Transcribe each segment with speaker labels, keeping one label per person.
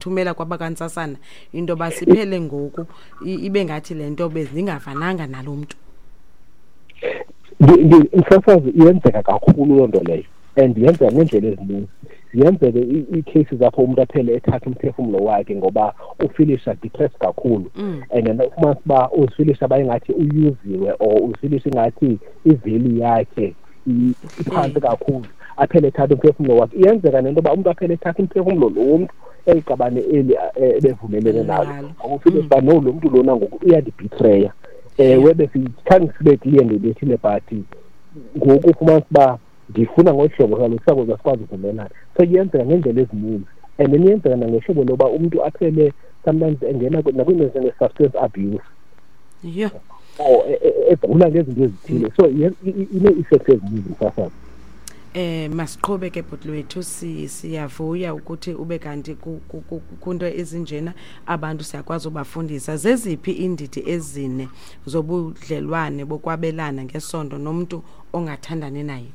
Speaker 1: Thumela kwabakantsasana into yoba siphele ngoku ibe ngathi le nto bezindingavananga nalo mntu.
Speaker 2: Msasazi, iyenzeka kakhulu loo nto leyo and yenzeka ngeendlela ezininzi. Ziyenzeke ii-cases apho umntu aphele ethatha umphefumlo wakhe ngoba ufilisha depressed kakhulu. And then ufumanisa uba uzifilisha uba ingathi uyuziwe or uzifilisha ingathi i-value yakhe iphantsi kakhulu, aphele ethatha umphefumlo wakhe. Iyenzeka nento yoba umntu aphele ethatha umphefumlo lo womntu eli qabane eli ebevumelene nalo, ngoba ufilisha uba no, lo mntu lona ngoku uyandibhitreya. Ewe, besikhange sibe clear ngebethile, but ngoku ufumanisa uba ndifuna ngolu hlobo, kaloku sakuze sikwazi uvumelana. So iyenzeka ngeendlela ezininzi and then iyenzeka nangehlobo loba umntu aphele sometimes engena nakwiinto ezinjenge-substance abuse. Or egula ngezinto ezithile. So inee-effects ezininzi, msasazi.
Speaker 1: Masiqhube ke, bhuti wethu, siyavuya ukuthi ube kanti kunto ezinjena abantu siyakwazi ubafundisa. Zeziphi iindidi ezine zobudlelwane bokwabelana ngesondo nomntu ongathandani naye?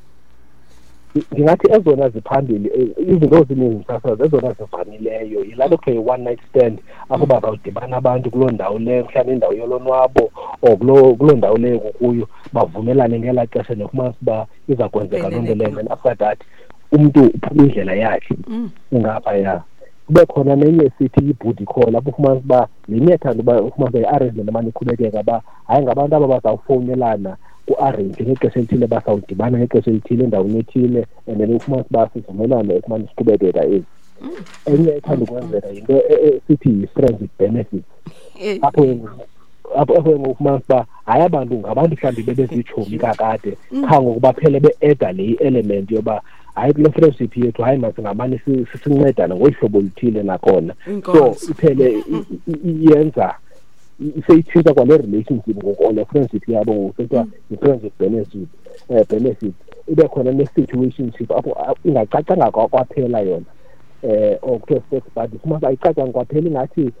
Speaker 2: Ndingathi ezona ziphambili, izinto ezininzi, msasazi, ezona zivamileyo yilaa nto kuthiwa yi-one night stand, apho bazawudibana abantu kuloo ndawo leyo, mhlawumbi indawo yolonwabo or kuloo ndawo leyo kukuyo, bavumelane ngelaa xesha nofumanisa uba iza kwenzeka loo nto leyo. And after that umntu uphuma indlela yakhe ungaphaya. Kube khona nenye esithi yi-booty call, apho ufumanisa uba le iyathanda uba ufumanisa i-arrangement emane iqhubekeka uba hayi, ngabantu aba bazawufowunelana ku-arrange ngexesha elithile, bazawudibana ngexesha elithile endaweni ethile, and then ufumanisa uba sivumelane ekumane siqhubekeka ezi. Enye ethanda ukwenzeka yinto esithi yi-friends with benefits, apho ke ngoku ufumanisa uba hayi, abantu ngabantu mhlawumbi bebezitshomi kakade, qha ngoku baphele be-eda le i-element yoba hayi, kule friendship yethu, hayi, masingamane sincedane ngolu hlobo oluthile nakhona. So iphele iyenza seyitshintsha kwale relationship ngoku or le friendship yabo ngoku sekuthiwa yi-friends with benefit. Ibe khona ne-situationship apho ingacacanga kwaphela yona, or kuthiwa sex buddy, fumanisa ayicacanga kwaphela, ingathi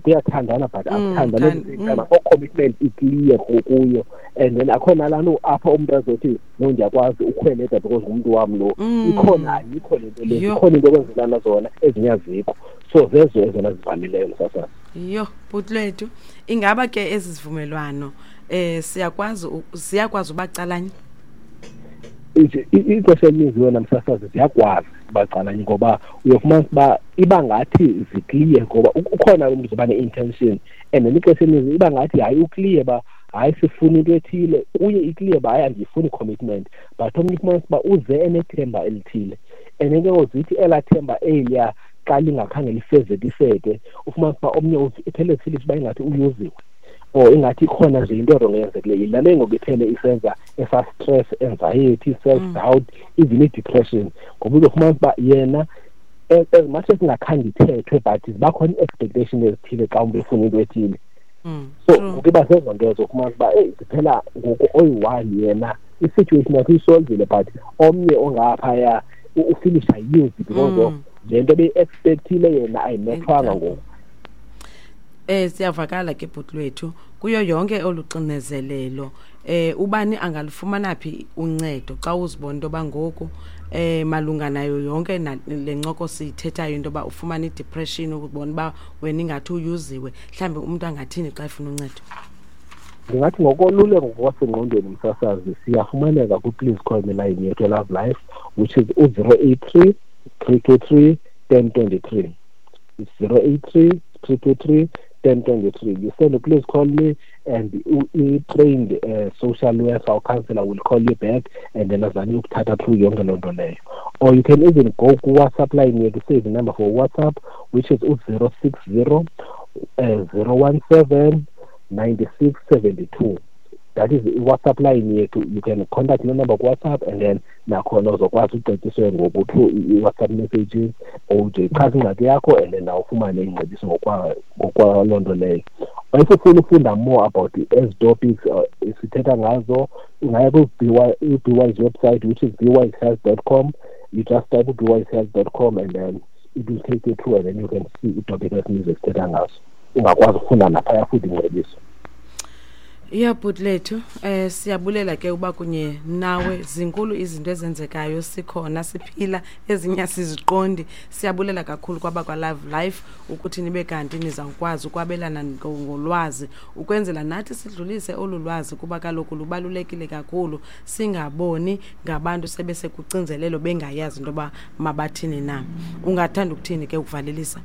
Speaker 2: kuyathandana but akuthandana at the same time, akho commitment i-clear kuyo. And then akho nalaa nto apho umntu azothi no, ndiyakwazi ukhweleta because ngumntu wam lo. Ikhona, ayikho le nto le. Ikhona into okwenzelana zona, ezinye azikho. So zezo ezona zivamileyo, msasazi.
Speaker 1: Yho, bhuti lwethu, ingaba ke ezi zivumelwano siyakwazi ubacalanye?
Speaker 2: Ixesha elininzi wena, msasazi, ziyakwazi ubacalanye ngoba uyofumanisa uba iba ngathi zikliye, ngoba ukhona umntu uzoba ne-intention and then ixesha elininzi iba ngathi hayi, ukliye uba hayi, sifuna into ethile kuye, ikliye uba hayi, andiyifuni i-commitment, but omnye ufumanisa uba uze enethemba elithile and then ke ngoku zithi elaa themba eliya xa lingakhange lifezekiseke, ufumanisa uba omnye iphele zifilisha uba ingathi uyuziwe or ingathi ikhona nje into erongo eyenzekileyo. Yilaa nto ngoku iphele isenza esa stress, anxiety, self doubt, even i-depression, ngoba uzofumanisa uba yena as much as ingakhange ithethwe, but ziba khona ii-expectation ezithile xa umntu efuna into ethile. So ngoku iba zezo nto ezo, ufumanisa uba eyi, ziphela ngoku oyi-one yena i-situation yakhe uyisolvile, but omnye ongaphaya ufilisha used because of le nto beyi-expectile yena ayimethwanga ngoku.
Speaker 1: Siyavakala ke, bhuti lwethu, kuyo yonke oluxinezelelo ubani angalufumana phi uncedo xa uzibona into yoba ngoku malunga nayo yonke le ncoko siyithethayo, into yoba ufumana i-depression, ukubona uba wena ingathi uyuziwe, mhlawumbi umntu angathini xa efuna uncedo?
Speaker 2: Ndingathi ngokoluleko ngokwasengqondweni, msasazi, siyafumaneka kwi-Please Call Me line yethu Love Life, which is u-083 323 1023. It's 083 323 1023. You send a "Please call me" and i-trained social worker or counselor will call you back and then azame ukuthatha through yonke loo nto leyo. Or you can even go ku-WhatsApp line yethu, save the number for WhatsApp, which is u-060 017 9672. That is i-WhatsApp line yethu. You can contact le number ku-WhatsApp and then nakhona uzokwazi ucetyiswe ngoku through i-WhatsApp messages or ude ichaze ingxaki yakho and then nawe ufumane ingcebiso ngokwaloo nto leyo. Or if ufuna ufunda more about ezi topics sithetha ngazo, ungaya kwi-BWise website, which is bwisehealth.com. You just type bwisehealth.com and then it will take you through and then you can see ii-topic ezininzi esithetha ngazo. Ungakwazi ukufunda naphaya futhi ingcebiso.
Speaker 1: Ya bhuti lethu, siyabulela ke uba kunye nawe. Zinkulu izinto ezenzekayo, sikhona siphila, ezinye asiziqondi. Siyabulela kakhulu kwabakwa Love Life ukuthi nibe kanti nizawukwazi ukwabelana ngolwazi ukwenzela nathi sidlulise olu lwazi, kuba kaloku lubalulekile kakhulu, singaboni ngabantu sebesekucinzelelo bengayazi into yoba mabathini na. Ungathanda ukuthini ke ukuvalelisa?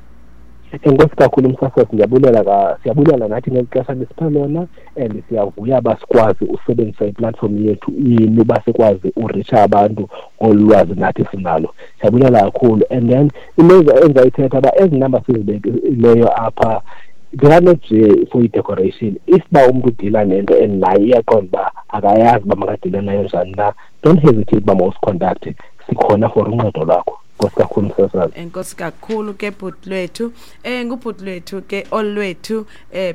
Speaker 2: Enkosi kakhulu msasazi, ndiyabulela, siyabulela nathi ngeli xesha nisipha lona, and siyavuya uba sikwazi usebenzisa iplatform yethu yini uba sikwazi ureacha abantu ngolu lwazi nathi sinalo. Siyabulela kakhulu. And then into endizayithetha uba ezi namba sizibekileyo apha, they are not nje for i-decoration. If uba umntu udila nento and naye uyaqonda uba akayazi uba makadile nayo njani na, don't hesitate uba mawusicontacte, sikhona for uncedo lwakho. Enkosi kakhulu msasazi.
Speaker 1: Enkosi kakhulu ke bhuti lwethu. Ngubhuti lwethu ke olwethu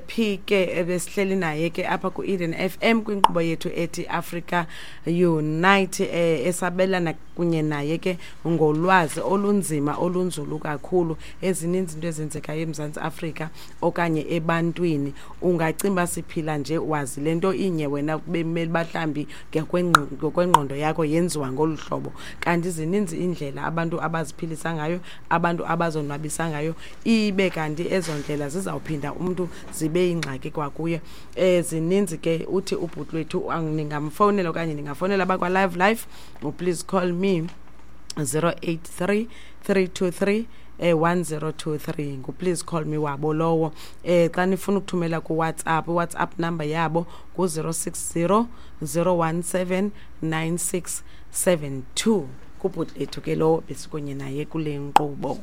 Speaker 1: P ke besihleli naye ke apha ku-Eden FM kwinkqubo yethu ethi Africa Unite, esabelana kunye naye ke ngolwazi olunzima olunzulu kakhulu. Ezininzi into ezenzekayo eMzantsi Afrika okanye ebantwini, ungacimba siphila nje wazi le nto inye wena bemele bahlambi ngokwengqondo yakho yenziwa ngolu hlobo, kanti zininzi indlela abantu abaziphilisa ngayo, abantu abazonwabisa ngayo, ibe kanti ezo ndlela zizawuphinda umntu zibe yingxaki kwakuye. Zininzi ke. Uthi ubhuti lwethu ningamfowunela okanye ningafowunela abakwa Live Life, please call me 083 323 1023, ngu-please call me wabo lowo. Xa nifuna ukuthumela kuWhatsApp, iWhatsApp number yabo ngu-060 017 9672. Kubhuti lethu ke lowo besikunye naye kule nkqubo.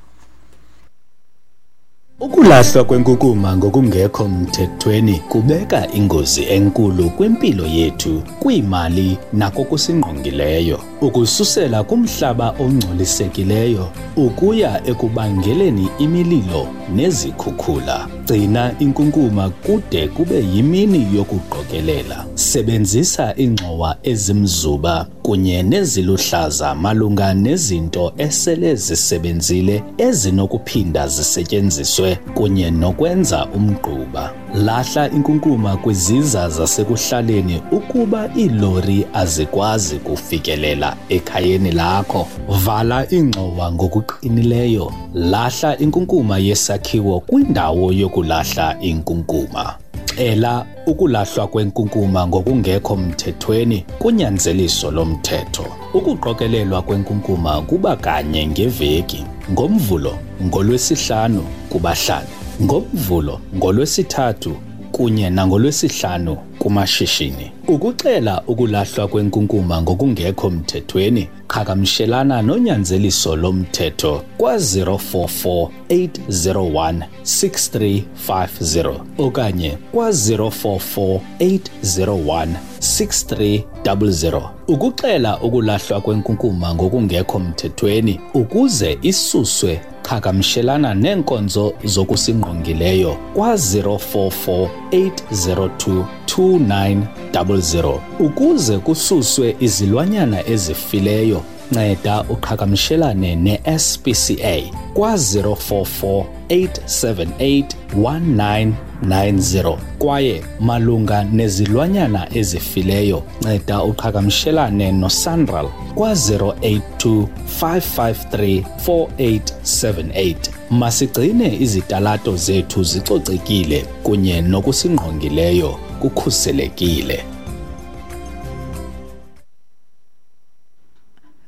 Speaker 3: Ukulahlwa kwenkunkuma ngokungekho mthethweni kubeka ingozi enkulu kwimpilo yethu, kwiimali nakokusingqongileyo. Ukususela kumhlaba ongcolisekileyo ukuya ekubangeleni imililo nezikhukhula. Gcina inkunkuma kude kube yimini yokuqokelela. Sebenzisa iingxowa ezimzuba kunye neziluhlaza malunga nezinto esele zisebenzile ezinokuphinda zisetyenziswe kunye nokwenza umgquba. Lahla inkunkuma kwiziza zasekuhlaleni ukuba iilori azikwazi kufikelela ekhayeni lakho. Vala iingxowa ngokuqinileyo. Lahla inkunkuma yesakhiwo kwindawo yokulahla inkunkuma. Cela ukulahlwa kwenkunkuma ngokungekho mthethweni kunyanzeliso lomthetho. Ukuqokelelwa kwenkunkuma kuba kanye ngeveki, ngoMvulo, ngoLwesihlanu kubahlali, ngoMvulo, ngoLwesithathu kunye nangoLwesihlanu kumashishini. Ukucela ukulahlwa kwenkunkuma ngokungekho mthethweni, qhagamshelana nonyanzeliso lomthetho kwa-044 801 6350 okanye kwa-044 801 6300 ukuxela ukulahlwa kwenkunkuma ngokungekho mthethweni ukuze isuswe. Qhagamshelana neenkonzo zokusingqongileyo kwa-044 802 2900 ukuze kususwe izilwanyana ezifileyo. Nceda uqhagamshelane ne-SPCA kwa-044 878 1990, kwaye malunga nezilwanyana ezifileyo nceda uqhagamshelane noSANRAL kwa-082 553 4878. Masigcine izitalato zethu zicocekile kunye nokusingqongileyo kukhuselekile.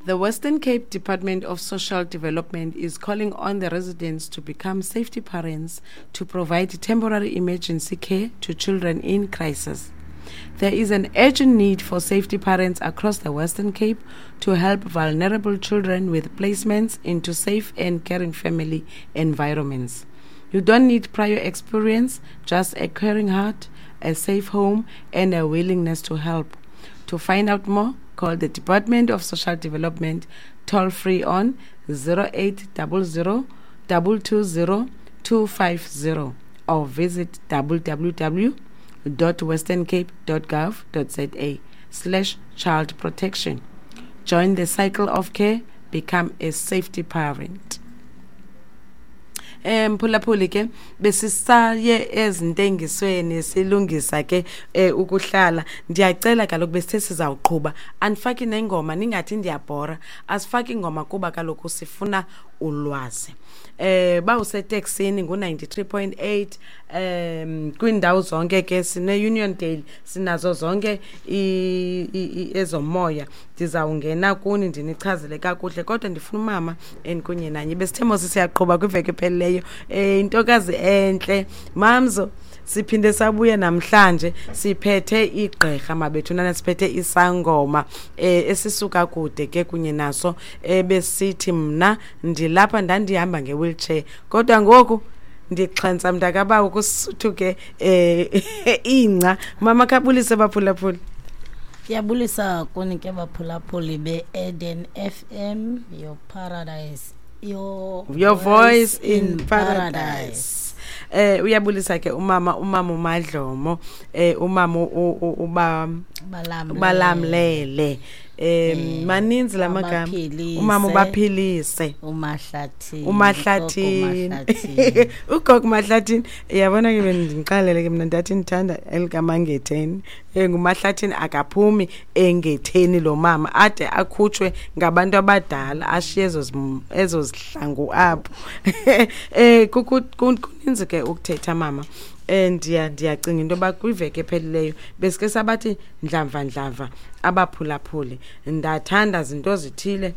Speaker 1: The Western Cape Department of Social Development is calling on the residents to become safety parents to provide temporary emergency care to children in crisis. There is an urgent need for safety parents across the Western Cape to help vulnerable children with placements into safe and caring family environments. You don't need prior experience, just a caring heart, a safe home, and a willingness to help. To find out more, call the Department of Social Development toll free on 0800 220 250 or visit www.westerncape.gov.za/childprotection. Join the cycle of care, become a safety parent. Mphulaphuli ke besisaye ezintengisweni silungisa ke ukuhlala. Ndiyacela kaloku besithe sizawuqhuba, andifaki nengoma, ningathi ndiyabhora. Asifaki ingoma kuba kaloku sifuna ulwazi. Bawuseteksini ngu-93.8 kwiindawo zonke ke, sine-Uniondale, sinazo zonke ezomoya. Ndizawungena kuni ndinichazele kakuhle, kodwa ndifuna umama endikunye nanye. Besithe mos siyaqhuba kwiveki ephelileyo. Intokazi entle Mamzo, siphinde sabuya namhlanje siphethe igqirha mabethunana, siphethe isangoma esisuka kude ke kunye naso. Besithi mna ndilapha, ndandihamba nge-wheelchair kodwa ngoku ndixhentsa mntakabawo kusuthuke ingca. Mama, khabulise baphulaphuli.
Speaker 4: Ndiyabulisa kuni ke baphulaphuli be-Eden FM, your paradise, your,
Speaker 1: your voice in paradise. Uyabulisa ke umama uMadlomo, umama uba
Speaker 4: Balamlele.
Speaker 1: Ubalamlele. Maninzi lamagama.
Speaker 4: Ubaphilise.
Speaker 1: Umama ubaphilise.
Speaker 4: Umahlathini.
Speaker 1: Umahlathini.
Speaker 4: Umahlathini.
Speaker 1: Ugogo Mahlathini, uyabona ke bendindiqalele ke mna ndathi ndithanda elikamangetheni. Ngumahlathini akaphumi engetheni lo mama ade akhutshwe ngabantu abadala, ashiye ezo zihlangu apho. Kuninzi ke ukuthetha mama. Ndiyacinga into yoba kwiveki ephelileyo besike sabathi ndlamva ndlamva abaphulaphuli, ndathanda zinto zithile,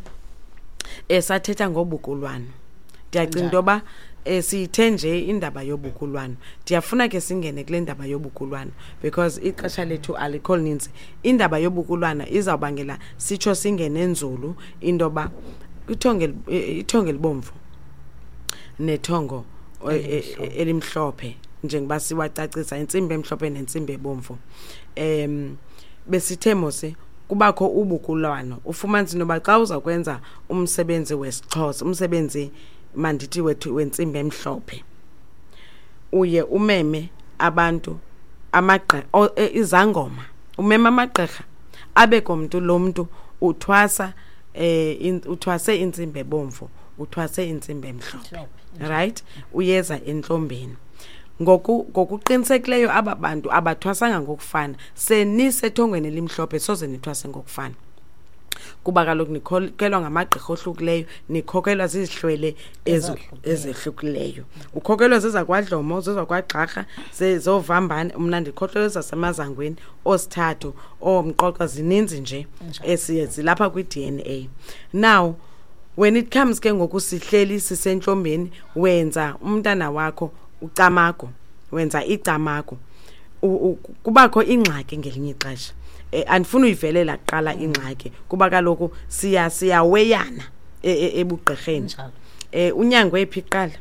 Speaker 1: sathetha ngobukulwano. Ndiyacinga into yoba siyithe nje indaba yobukulwano. Ndiyafuna ke singene kule ndaba yobukulwano because ixesha lethu alikho lininzi. Indaba yobukulwana izawubangela sitsho singene nzulu into yoba ithongo elibomvu nethongo elimhlophe, njengoba siwacacisa intsimbi emhlophe nentsimbi ebomvu. Besithe mose kubakho ubukulwano, ufumanise into yoba xa uzawukwenza umsebenzi wesiXhosa, umsebenzi mandithi wethu wentsimbi emhlophe, uye umeme abantu izangoma, umeme amagqirha abe komntu lo mntu uthwasa, uthwase intsimbi ebomvu, uthwase intsimbi emhlophe, right? Uyeza entlombeni. Ngokuqinisekileyo aba bantu abathwasanga ngokufana. Senisethongweni elimhlophe soze nithwase ngokufana, kuba kaloku nikhokelwa ngamagqirha ohlukileyo, nikhokelwa zizihlwele ezehlukileyo. Ukhokelwa zezakwadlomo, zezakwagxarha, zezovambane. Mna ndikhokelwa zasemazangweni, oosithathu, oomqoqa, zininzi nje esiye zilapha kwi-DNA. Now when it comes ke ngoku sihleli sisentlombeni, wenza umntana wakho ucamago, wenza icamago, kubakho ingxaki ngelinye ixesha. Andifuni uyivelela kuqala ingxaki kuba kaloku siyaweyana ebugqirheni. Unyangwe phi kuqala?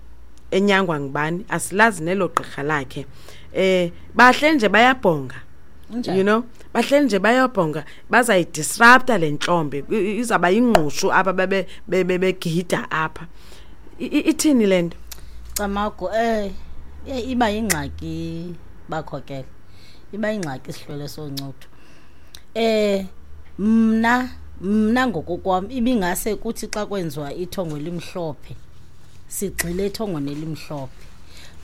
Speaker 1: Enyangwa ngubani? Asilazi nelo gqirha lakhe. Bahle nje bayabhonga. Bahle nje bayabhonga, bazayidisrupta le ntlombe. Izawuba yingqushu apha begida apha. Ithini le nto?
Speaker 4: Camago, iba yingxaki bakhokela. Iba yingxaki isihlwele soncuthu. Mna ngokokwam ibingase kuthi xa kwenziwa ithongo elimhlophe, sigxile ethongweni elimhlophe.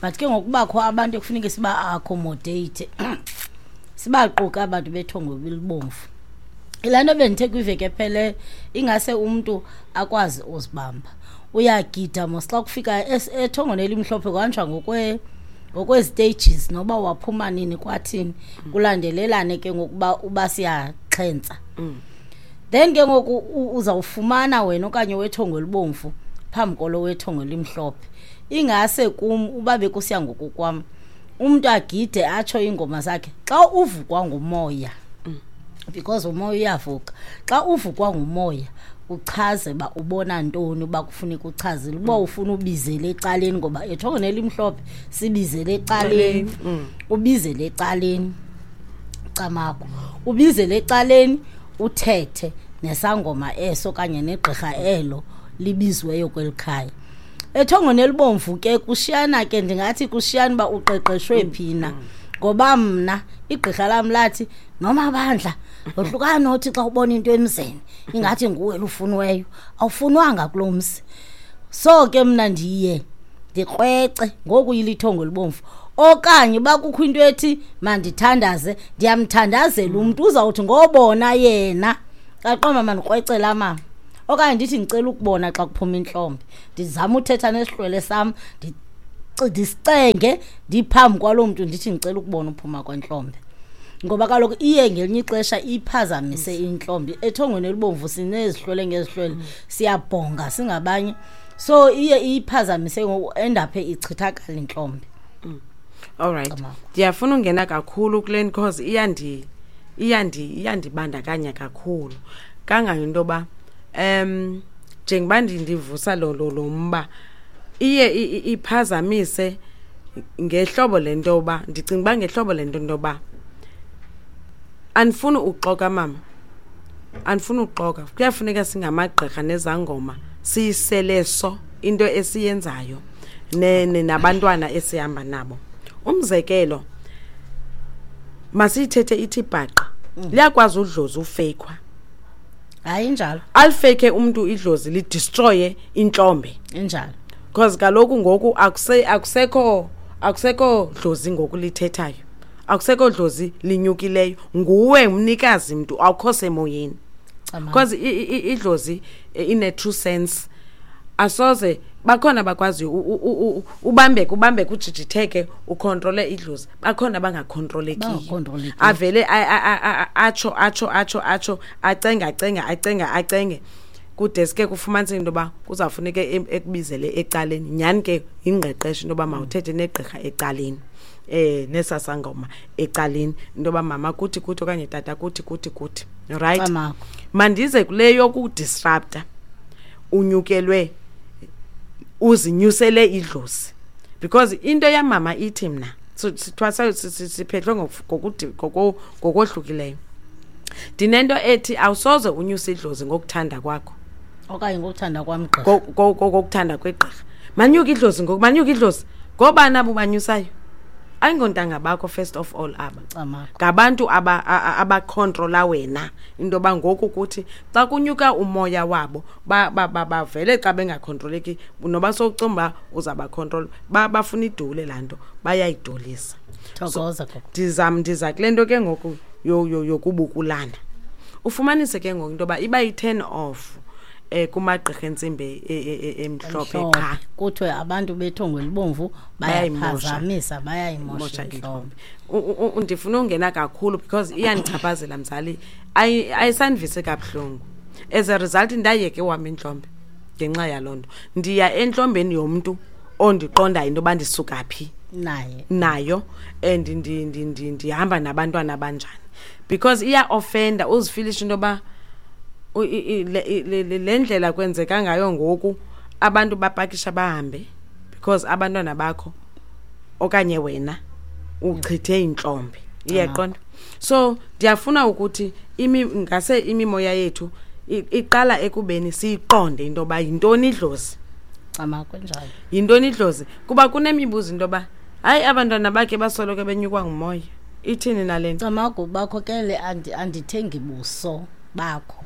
Speaker 4: But ke ngokubakho abantu ekufuneka siba-accommodate, sibaquke abantu bethongo elibomvu. Laa nto bendithe kwiveki ephele, ingase umntu akwazi uzibamba. Uyagida mos xa kufika ethongweni elimhlophe, kuhanjwa ngokwezi-stages, noba waphuma nini kwathini, kulandelelane ke ngokuba uba siyaxhentsa. Then ke ngoku uzawufumana wena okanye wethongo elibomvu phambi kolo wethongo elimhlophe. Ingase kum uba bekusiya ngokokwam, umntu agide atsho iingoma zakhe. Xa uvukwa ngumoya, because umoya uyavuka, xa uvukwa ngumoya uchaze uba ubona ntoni, uba kufuneka uchazile, uba ufuna ubizele ecaleni, ngoba ethongweni elimhlophe sibizele ecaleni. Ubizele ecaleni camago, ubizele ecaleni uthethe nesangoma eso okanye negqirha elo libiziweyo kweli khaya. Ethongweni elibomvu ke kushiyana ke, ndingathi kushiyana uba uqeqeshwe phi na, ngoba mna igqirha lam lathi noma bandla wohlukana nothi xa ubona into emzini ingathi nguwe lufuniweyo, awufunwanga kulo mzi. So ke mna ndiye Ndikrwece ngoku yilithongo elibomvu. Okanye uba kukho into ethi mandithandaze, ndiyamthandazela umntu, uzawuthi ngobona yena aqoma mandikrwece laa mama. Okanye ndithi ndicela ukubona xa kuphuma intlombe, ndizama uthetha nesihlwele sam, ndisicenge ndiphambi kwaloo mntu, ndithi ndicela ukubona uphuma kwentlombe. Ngoba kaloku iye ngelinye ixesha iphazamise intlombe. Ethongweni elibomvu sinezihlwele ngezihlwele, siyabhonga singabanye, so iye iyiphazamise ngoku endaphe ichithakala intlombe.
Speaker 1: All right. Ndiyafuna ungena kakhulu kule because iyandibandakanya kakhulu kangangento yoba njengoba ndivusa lo mba, iye iphazamise ngehlobo lento yoba ndicinga uba ngehlobo lento yoba andifuni uxoka mama, andifuni uxoka. Kuyafuneka singamagqirha nezangoma siyisele so into esiyenzayo nabantwana esihamba nabo. Umzekelo, masiyithethe ithi bhaqa, liyakwazi udlozi ufeykhwa.
Speaker 4: Hayi, injalo.
Speaker 1: Alifeyikhe umntu idlozi lidestroye intlombe.
Speaker 4: Injalo.
Speaker 1: Because kaloku ngoku akusekho dlozi ngoku lithethayo, akusekho dlozi linyukileyo, nguwe umnikazi mntu, awukho semoyeni. Because idlozi in a true sense asoze bakhona bakwaziyo ubambeke, ubambeke, ujijitheke, ukhontrole idlozi, bakhona abangakhontrolekiyo.
Speaker 4: Bangakhontrolekiyo.
Speaker 1: Avele atsho, atsho, atsho, atsho, acenga, acenga, acenga, acenge, kude sike kufumaniseke into yoba kuzawufuneka ekubizele ecaleni. Nyhani ke yingqeqesho into yoba mawuthethe negqirha ecaleni, nesasangoma ecaleni, into yoba mama kuthi kuthi okanye tata kuthi kuthi kuthi. Right?
Speaker 4: Camagu.
Speaker 1: Mandize kule yokudisrupta, unyukelwe, uzinyusele idlozi. Because into yamama ithi mna, sithwasa, siphehlwe ngokohlukileyo. Ndinento ethi awusoze unyuse idlozi ngokuthanda kwakho.
Speaker 4: Okanye ngokuthanda kwam gqirha.
Speaker 1: Ngokuthanda kwegqirha. Manyuke idlozi ngoku, manyuke idlozi. Ngobani abo banyusayo? Ayingontanga bakho first of all aba.
Speaker 4: Camagu.
Speaker 1: Ngabantu abakhontrola wena into yoba ngoku kuthi xa kunyuka umoya wabo, bavele xa bengakhontroleki, noba sowucinga uba uzabakhontrola, bafuna idule laa nto, bayayidulisa.
Speaker 4: Thokoza, gogo.
Speaker 1: Ndiza kule nto ke ngoku yokubukulana. Ufumanise ke ngoku into yoba iba yi-turn off kumagqirha entsimbi emhlophe
Speaker 4: Emhlophe.
Speaker 1: qha.
Speaker 4: Kuthiwe abantu bethongo elibomvu
Speaker 1: Bayayimosha.
Speaker 4: bayaphazamisa, bayayimosha
Speaker 1: Mosha
Speaker 4: intlombe.
Speaker 1: intlombe. Ndifuna ungena kakhulu because iyandichaphazela mzali. Ayisandivisi kabuhlungu. As a result ndayeke wam intlombe ngenxa yaloo nto. Ndiya entlombeni yomntu ondiqondayo into yoba ndisuka phi.
Speaker 4: Naye.
Speaker 1: Nayo, and ndihamba nabantwana abanjani. Because iya-offenda, uzifilishe into yoba le ndlela kwenzeka ngayo ngoku, abantu bapakisha bahambe because abantwana bakho okanye wena uchithe intlombe. Uyaqonda? So ndiyafuna ukuthi ngase imimoya yethu iqala ekubeni siyiqonde into yoba yintoni idlozi.
Speaker 4: Cama, kunjalo.
Speaker 1: Yintoni idlozi? Kuba kunemibuzo into yoba hayi abantwana bakhe basoloko benyukwa ngumoya. Ithini nale nto?
Speaker 4: Camagu, bakhokele, andithengi buso bakho.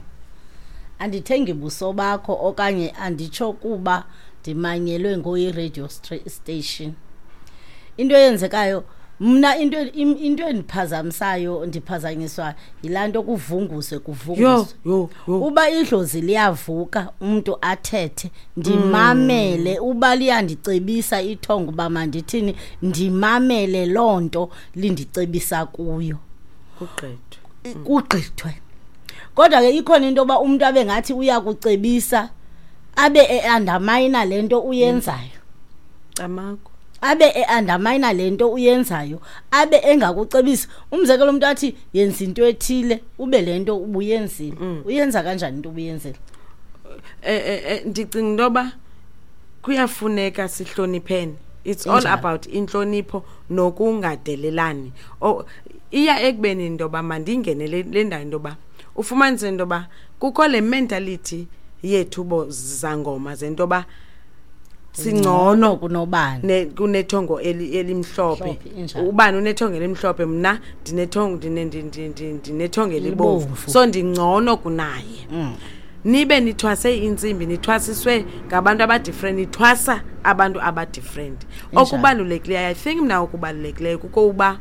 Speaker 4: Andithengi buso bakho okanye anditsho kuba ndimanyelwe ngoyi-radio station. Into eyenzekayo mna, into endiphazamisayo, ndiphazanyiswa yilaa nto kuvunguswe, kuvunguswe.
Speaker 1: Yho, yho, yho.
Speaker 4: Uba idlozi liyavuka umntu athethe, ndimamele. Uba liyandicebisa ithongo uba mandithini, ndimamele loo nto lindicebisa kuyo.
Speaker 1: Kugqithwe.
Speaker 4: Kugqithwe. Kodwa ke ikhona into yoba umntu abe ngathi uyakucebisa, abe e-undermine le nto uyenzayo.
Speaker 1: Camagu.
Speaker 4: Abe e-undermine le nto uyenzayo, abe engakucebisi. Umzekelo, umntu athi yenza into ethile, ube le nto ubuyenzile. Uyenza kanjani into ubuyenzile?
Speaker 1: Ndicinga into yoba kuyafuneka sihloniphene. It's all
Speaker 4: Injalo.
Speaker 1: about intlonipho nokungadelelani. Iya ekubeni into yoba mandingene le ndawo into yoba ufumanise into yoba kukho le mentality yethu bo zangoma zento yoba singcono
Speaker 4: kunobani.
Speaker 1: Kunethongo elimhlophe.
Speaker 4: Mhlophe, injalo.
Speaker 1: Ubani unethongo elimhlophe, mna ndinethongo elibomvu.
Speaker 4: Elibomvu.
Speaker 1: So ndingcono kunaye. Nibe nithwase intsimbi, nithwasiswe ngabantu abadifferent, nithwasa abantu abadifferent. Okubalulekileyo, I think mna okubalulekileyo kukokuba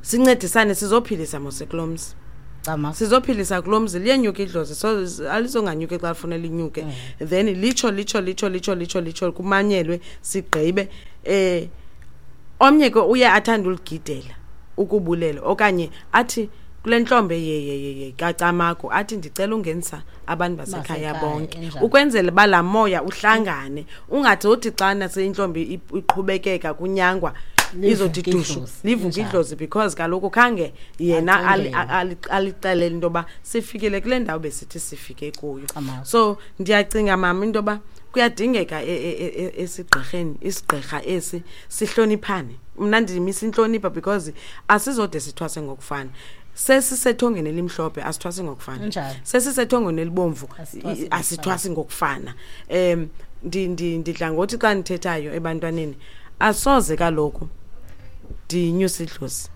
Speaker 1: sincedisane, sizophilisa mose kulo mzi. Sizophilisa kulo mzi, liyenyuka idlozi, so alizonganyuki xa lifuna linyuke. Then litsho litsho litsho litsho litsho litsho kumanyelwe, sigqibe. Omnye ke uye athande uligidela ukubulela, okanye athi kule ntlombe ye kaCamagu, athi ndicela ungenisa abantu basekhaya bonke, ukwenzela uba laa moya uhlangane, ungathi uthi xana seyintlombe iqhubekeka kunyangwa izothi dushu livuke idlozi, because kaloku khange yena alixelele into yoba sifikile kule ndawo besithi sifike kuyo. So ndiyacinga mama into yoba kuyadingeka esigqirheni, isigqirha esi sihloniphane. Mna ndimisa intlonipha because asizode sithwase ngokufana. Sesisethongeni elimhlophe asithwasi ngokufana, sesisethongeni elibomvu asithwasi ngokufana. Ndidla ngothi xa ndithethayo ebantwaneni, asoze kaloku ndinyuse idlozi.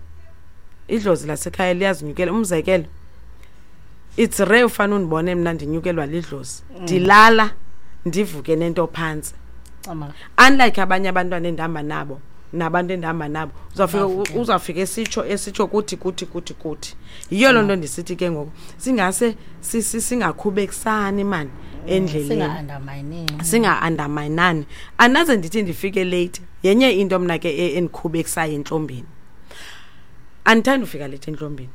Speaker 1: Idlozi lasekhaya liyazinyukela. Umzekelo, it's rare ufane undibone mna ndinyukelwa lidlozi. Ndilala ndivuke nento phantsi. Unlike abanye abantwana endihamba nabo, nabantu endihamba nabo, uzawufika esitsho kuthi kuthi kuthi kuthi. Yiyo loo nto ndisithi ke ngoku singase singakhubekisani mani endleleni, singa-underminani. Andaze ndithi ndifike late. Yenye into mna ke endikhubekisayo entlombeni, andithandi ufika late entlombeni.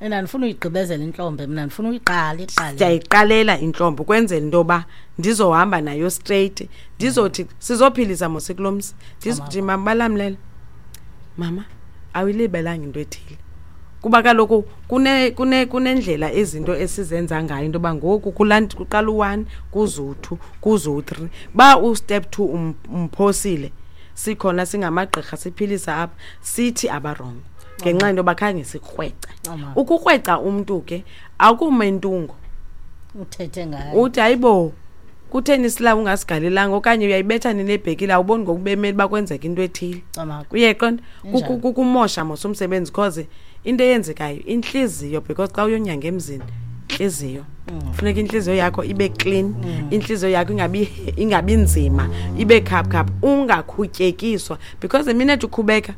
Speaker 4: And andifuna uyigqibezela intlombe mna, ndifuna uyiqala iqale.
Speaker 1: Ndiyayiqalela intlombe ukwenzela into yoba ndizohamba nayo straight, ndizothi sizophilisa mos kulo mzi. Ndizothi mama balamlela, mama awuyilibelanga into ethile, kuba kaloku kunendlela izinto esizenza ngayo into yoba ngoku kuqala u-1 kuze u-2 kuze u-3. Ba ustep 2 umphosile, sikhona singamagqirha siphilisa apha, sithi abarongo ngenxa yento yoba khange sikrweca. Ukukrweca umntu ke akumentungo
Speaker 4: uthethe ngayo,
Speaker 1: uthi hayibo kutheni silawo ungasigalelanga, okanye uyayibetha nini ebhekile, awuboni ngokubemeli uba kwenzeka into ethile. Uyayiqonda? Kukumosha mos umsebenzi, cause into eyenzekayo intliziyo, because xa uyonyanga emzini intliziyo funeka intliziyo yakho ibe clean, intliziyo yakho ingabi nzima, ibe khaphu, ungakhutyekiswa, because the minute ukhubeka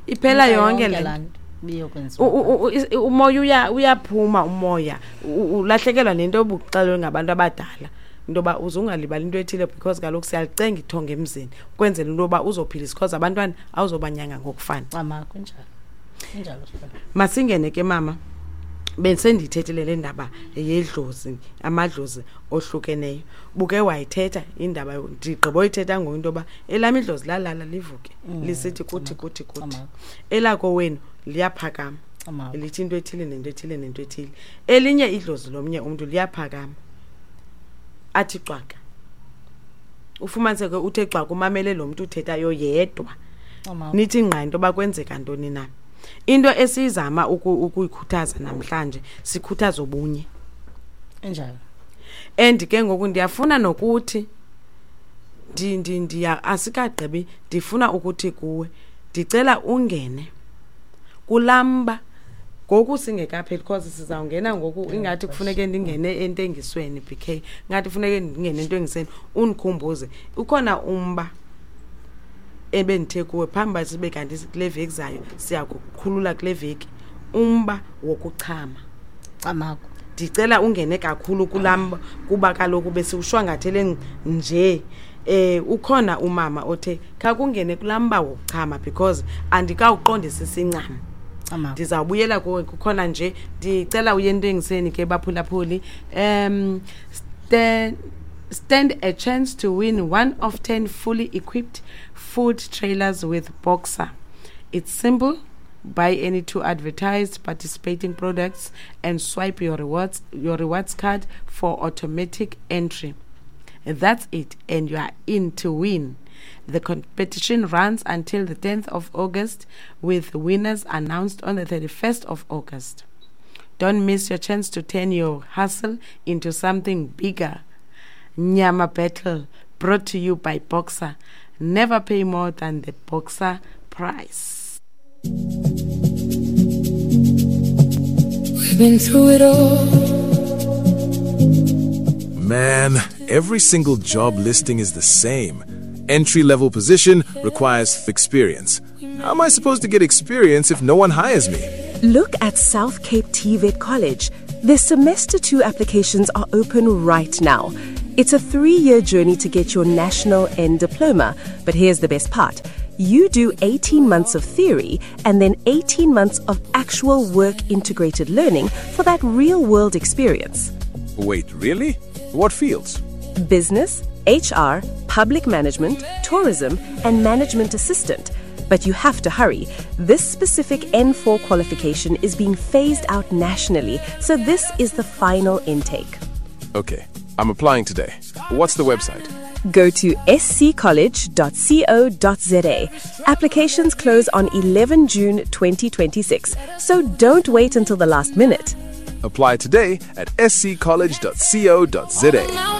Speaker 1: iphela yonke le
Speaker 4: nto.
Speaker 1: Umoya uyaphuma, umoya ulahlekelwa nento obuxelwe ngabantu abadala into yoba uze ungalibali into ethile, because kaloku siyalicenga ithonga emzini ukwenzela into yoba uzophilisa, because abantwana awuzobanyanga ngokufana. Masingene ke mama, besendiyithethile le ndaba yedlozi, amadlozi ohlukeneyo. Buke wayithetha indaba, ndigqiba oyithetha ngoku into yoba elam idlozi lalala livuke lisithi kuthi kuthi kuthi, elakowenu liyaphakama lithi into ethile nento ethile nento ethile. Elinye idlozi lomnye umntu liyaphakama athi cwaka, ufumaniseke uthe cwaka umamele lo mntu uthethayo yedwa, nithi ngqa into yoba kwenzeka ntoni na. Into esiyizama ukuyikhuthaza namhlanje, sikhuthaza ubunye.
Speaker 4: Enjalo.
Speaker 1: And ke ngoku ndiyafuna nokuthi asikagqibi, ndifuna ukuthi kuwe ndicela ungene kulamba ngoku singekapheli, because sizawungena ngoku ingathi kufuneke ndingene entengisweni, BK ngathi kufuneke ndingene entengisweni, undikhumbuze ukhona umba ebendithe kuwe phambi uba sibe kanti kule veki zayo siyakukhulula kule veki, umba wokuchama.
Speaker 4: Camagu.
Speaker 1: Ndicela ungene kakhulu kulamba kuba kaloku besiwushwangathele nje. Ukhona umama othe khakungene kulamba wokuchama because andikawuqondisisi incam. Ndizawubuyela kuwe kukhona nje, ndicela uye entengisweni ke baphulaphuli. Stand a chance to win 1 of 10 fully equipped food trailers with Boxer. It's simple. Buy any 2 advertised participating products and swipe your rewards card for automatic entry. That's it, and you are in to win. The competition runs until the 10th of August, with winners announced on the 31st of August. Don't miss your chance to turn your hustle into something bigger. Nyama Battle, brought to you by Boxer. Never pay more than the Boxer price.
Speaker 5: We've been through it all. Man, every single job listing is the same. Entry level position requires experience. How am I supposed to get experience if no one hires me?
Speaker 6: Look at South Cape TVET College. Their semester 2 applications are open right now. It's a 3-year journey to get your national N diploma, but here's the best part. You do 18 months of theory and then 18 months of actual work integrated learning for that real world experience.
Speaker 5: Wait, really? What fields?
Speaker 6: Business, HR, public management, tourism, and management assistant. But you have to hurry. This specific N4 qualification is being phased out nationally, so this is the final intake.
Speaker 5: Okay, I'm applying today. What's the website?
Speaker 6: Go to sccollege.co.za. Applications close on 11 June 2026, so don't wait until the last minute.
Speaker 5: Apply today at sccollege.co.za.